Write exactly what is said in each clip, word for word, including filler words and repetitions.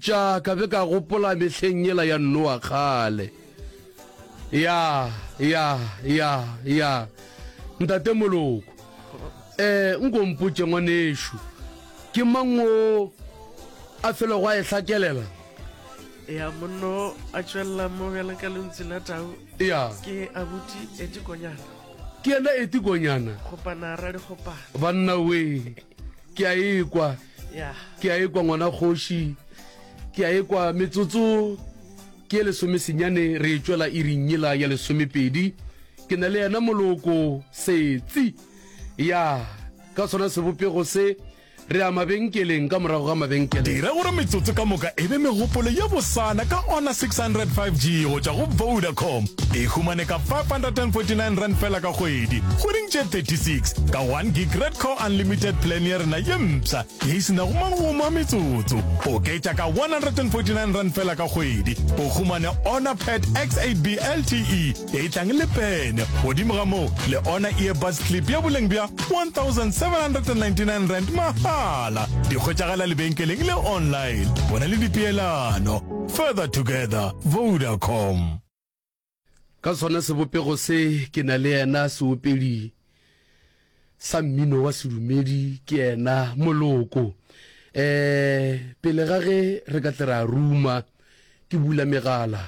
theeleditša ka be ka gopola mehleng yela ya Noa kgale. Ya, ya, ya, ya. Ntate Moloko, eh, nko mpotše ngwanešu, ke mang o a felego a e hlakelela? Ya, monno a tšwelela mo bjalo ka lentšu la tau. Ya. Ke abuti Eti Konyana. Ke yena Eti Konyana. Kgopana radikgopana. Banna we, ke a ekwa. Ya. Ke a ekwa ngwana kgoši. Ke a ekwa metsotso ke ye lesomesenyane re e tšwela iring yela ya lesomepedi. Ke na le yena Moloko Setsi. Ya, ka sona sebopego se re ya mabenkeleng ka morago ga mabenkele. Dira gore metsotso ka moka e be megopolo ye bosana ka Honor six hundred five G go tšwa go Vodacom. E humane ka five hundred and forty nine rand fela ka kgwedi, kgweding tše thirty six, ka one gig Red Core Unlimited plan ya rena ye mpsha ye e se nago magomo a metsotso. Oketša ka one hundred and forty nine rand fela ka kgwedi, o humane Honor Pad X eight B L T E ye e tlang le pene. Godimo ga moo, le Honor Earbuds Clip ya boleng bja one thousand seven hundred and ninety nine rand mahala. Di hwetšagala lebenkeleng le online. Bona le dipeelano. Further together, Vodacom. Ka sona sebopego se ke na le yena seopedi sa mmino wa sedumedi ke yena Moloko. Eh, pele ga ge re ka tle ra ruma, ke bula megala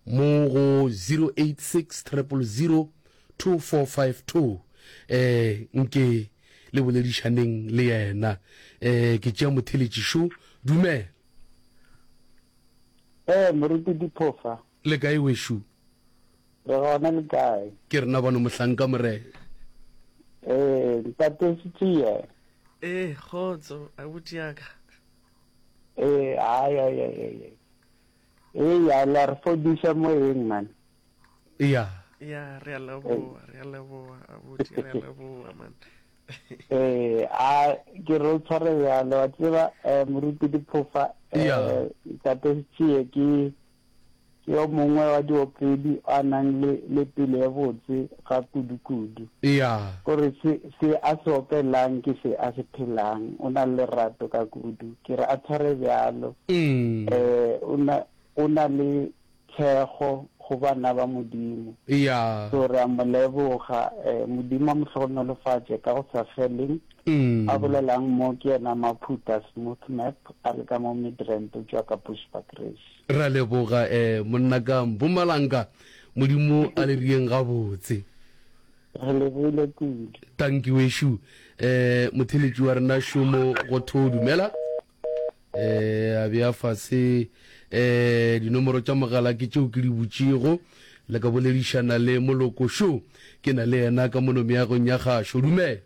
mo go zero eight six triple zero two four five two. Eh, nke le boledišaneng le yena. Eh, ke tšea motheletši šo. Dumela. Eh, Moruti Diphofa. Le kae wešo? Re gona, le kae? Ke rena bano mohlanka Morena. Eh, ntate Setšie. Eh, kgotso, abuti ya ka. Eh, ai, ai, ai, ai, ai. Eh, ya, la re fodiša moyeng, man. Ya. Ya, re a leboga, re a leboga, abuti, re a leboga, man. Eh, a, ke re o tshware bjalo, wa tseba, eh, Moruti Diphofa, eh, Ya. ntate Setšie ke, ke yo mongwe wa diopedi a nang le, le pelo ye botse ga kudu-kudu. Ya. Kore se, se a se opelang ke se a se phelang. O na le lerato ka kudu. Ke re a tshware bjalo. Mm. Eh, o na, o na le thekgo go bana ba Modimo. Ya. So re a mo leboga, eh, Modimo a mo hlogonolofatše ka go sa feleng. Mm. A bolelang mo ke yena Maphutha Smooth Map, a le ka mo Midrand, o tšwa ka Bushbuckridge. Ra leboga, eh, monna ka Mpumalanga, Modimo a le rieng gabotse. Re lebogile kudu. Tanki wešo, eh, motheletši wa rena šomo go tho dumela. Eh, a bea fase, eh, dinomoro tša mogala ke tšeo ke di butšego, le ka boledišana le Moloko šo, ke na le yena ka mono meagong ya gašo. Dumela.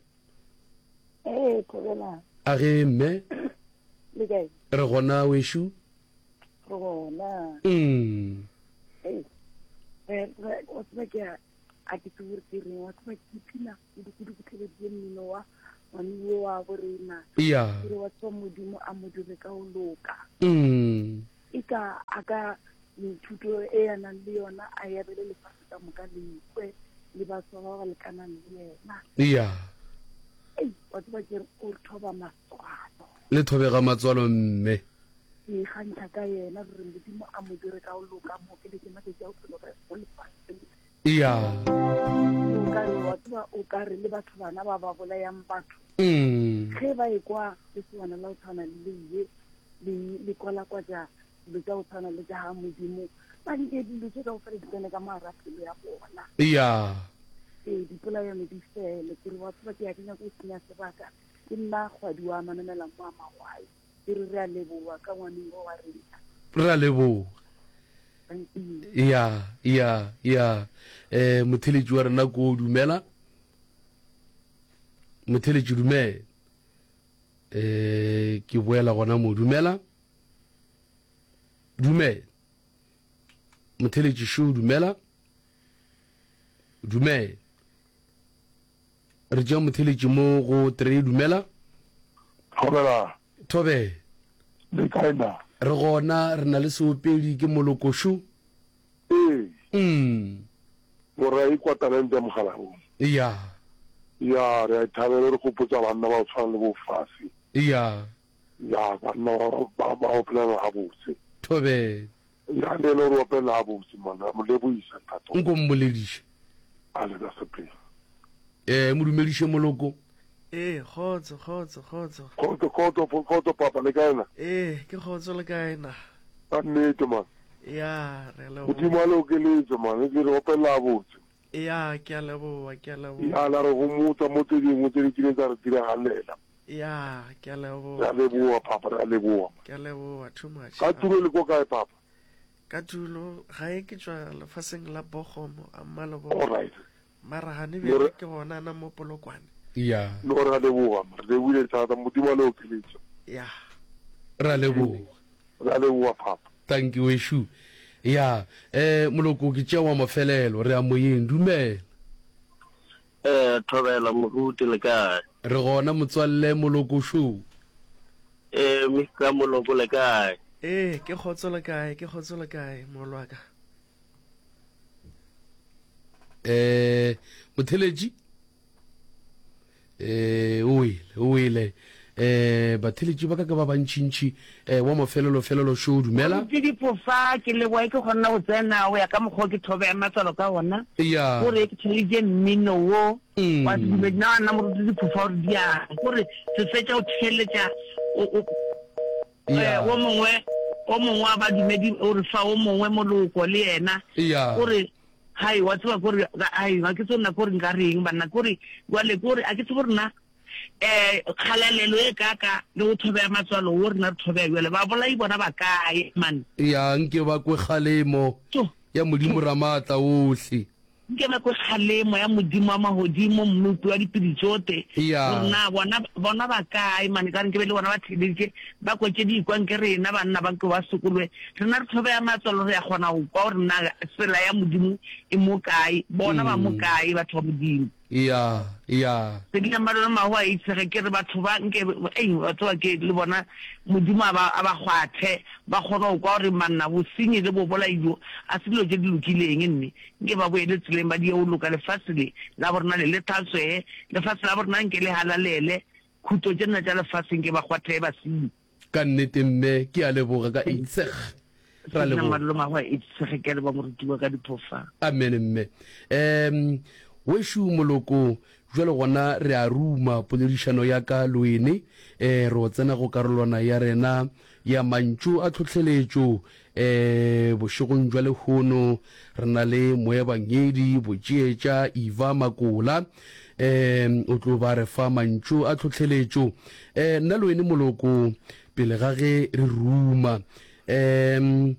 Ee, thobela. A ge mme? Le kae? Re gona wešo. Re gona. Mm. Ee, re, re, wa tseba ke a, a ke tsebe gore ke reng, wa tseba ke ipshina kudu-kudu ke theleditše mmino wa ngwane yo wa borena. Ya. Ke re wa tseba Modimo a mo dire ka go loka. Mm. E ka a ka methuto e a nang le yona a e abele lefase ka moka le ikwe le batho ba ba lekanang le yena. Ya. Ei, wa tseba ke re o re thoba matswalo. Le thobega matswalo mme. Ke ikgantšha ka yena gore Modimo a mo dire ka go loka, mo okeletše matšatši a bophelo ka go lefaseng. Ya. O ka re, wa tseba, o ka re le batho bana ba ba bolayang batho. Mm. Ge ba ekwa lesogana la go tshwana le le ye, le, le kwalakwatša dilo tša go tshwana le tša ga Modimo, ba nke dilo tše kaofela di tsene ka mogare ga pelo ya bona. Ya. Ee, dipolayano di fele. Ke re, wa tseba, ke ya ke nyaka go senya sebaka. Ke nna kgwadi wa Manamela mo a Magwai. Ke re, re a leboga ka ngwaneng wa rena. Re a leboga. Thank you. Ya, ya, ya. Eh, motheletši wa rena ko dumela. Motheletši dumela. Eh, ke boela gona mo, dumela. Dumela. Motheletši šo, dumela. Dumela. Re tšea motheletši mo go three, dumela. Thobela. Thobela. Le kae na? Re gona, re na le seopedi ke Moloko šo. Ee. Mm. Gore a ikwa talente ya mogalabong. Ya. Ya, re a e thabela, re gopotsa banna ba go tshwana le bo Fasi. Ya. Ya, banna ba ba ba opelela gabotse. Thobela. Ya, le yena o re opelela gabotse man, re mo lebohisa ntate. Nko mmolediše. A le ka sepela. Eh, mo dumediše moloko. Ee, kgotso, kgotso, kgotso. Kgotso, kgotso, kgotso papa, le kae na? Ee, ke kgotso le kae na? Ka nnete man. Ya, re a leboga. Modimo a le okeletse man, le re opelela gabotse. Ya, ke a leboga, ke a leboga. Ya, la re gomotsa mo tse dingwe tse di kileng tsa re diragalela. Ya, ke a leboga. Re a leboga papa, re a leboga. Ke a leboga too much. Ka tulo le ko kae papa? Ka tulo gae ke tšwa lefaseng la Bogomo, a Mmalebogo. All right. Mara gane bjale ke gona na mo Polokwane. Ya. No re a leboga, re lebogile thata, Modimo a le okeletše. Ya. Re a leboga. Re a leboga papa. Thank you weshu. Ya, eh moloko ke tšea wa mafelelo, re ya moyeng. Dumela. Eh, thobela moruti le kae? Re gona motswalle moloko šo. Eh, Mister Moloko le kae? Eh, ke kgotso le kae? Ke kgotso le kae mogolo wa ka? Eh, motheletši? Eh, o wele, o wele. Eh, batheletši ba ka ke ba bantšintši. Eh, wa mafelelo felelo šo, dumela. Moruti Diphofa, ke leboga ke kgonna go tsena go ya ka mokgwa o ke thobe ya matswalo ka gona. Ya. Gore ke theleditše mmino wo wa sedumedi. Na nna Moruti Diphofa gore diang. Gore se fetša go theeletša o, o, Ya. eh, wo mongwe, o mongwe wa badumedi o re fa o mongwe moloko le yena. Ya. Gore hai wa tseba kore hai ga ke tsebe nna kore nka reng banna kore jwale kore a ke tsebe gore na eh kgalalelo e kaka le go thobea matswalo wo rena re thobea jwale babolai bona ba kae man. Ya nke ba kwe kgalemo ya Modimo Ramaatla ohle. Nke ba kwe kgalemo ya Modimo wa magodimo, Mmopi wa dipedi tšote, Ya. gore na bona, bona ba kae, man, ekare nke be le bona ba theeleditše, ba kwa tše di ikwa nke rena banna ba nke ba sokologe. Rena re thobea matswalo, re a kgona go kwa gore na tsela ya Modimo e mo kae, bona ba mo kae, batho ba Modimo. Ya, ya. Sedinammalona mahu a itshege, ke re batho ba nke, ei, wa tseba ke, le bona Modimo a ba, a ba kgwathe, ba kgone go kwa gore manna, bosenyi le bobolai bjo, a se dilo tše di lokileng, mme nke ba boele tseleng ba die go loka. Lefase le la borena le le hlatswege, lefase la borena nke le halalele, khuto tše nna tša lefase nke ba kgwathege basenyi. Ka nnete mme, ke a leboga ka itseg. Ra leboga. Sedinammalona mahu a itshege, ke a leboga moruti wa ka diphofa. Amen mme. Um, Wešu moloko, bjale gona re a ruma poledišano ya ka le wene. E, re o tsena go karolwana ya rena ya mantšu a tlhohleletšo. E, bošegong bja lehono re na le moebangedi Botšeetša Eva Makola. E, o tlo ba re fa mantšu a tlhohleletšo. E, nna le wene moloko, pele ga ge re ruma. E,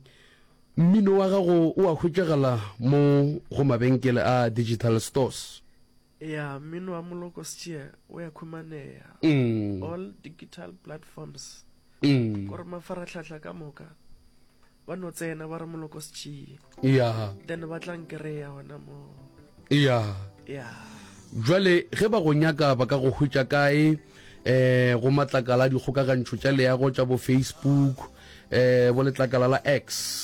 Mmino wa gago o a hwetšagala mo go mabenkele a digital stores? Ya, mmino wa Moloko Stjie o ya khumaneya Mm. all digital platforms. Mm. Kore mafarahlahla ka moka ba no tsena ba re Moloko Stjie. Ya. Then ba tla nkreya gona mo. Ya. Ya. Jwale ge ba go nyaka ba ka go hwetša kae? Eh, go matlakala a dikgokagantšho tša leago tša bo Facebook, eh, bo letlakala la X.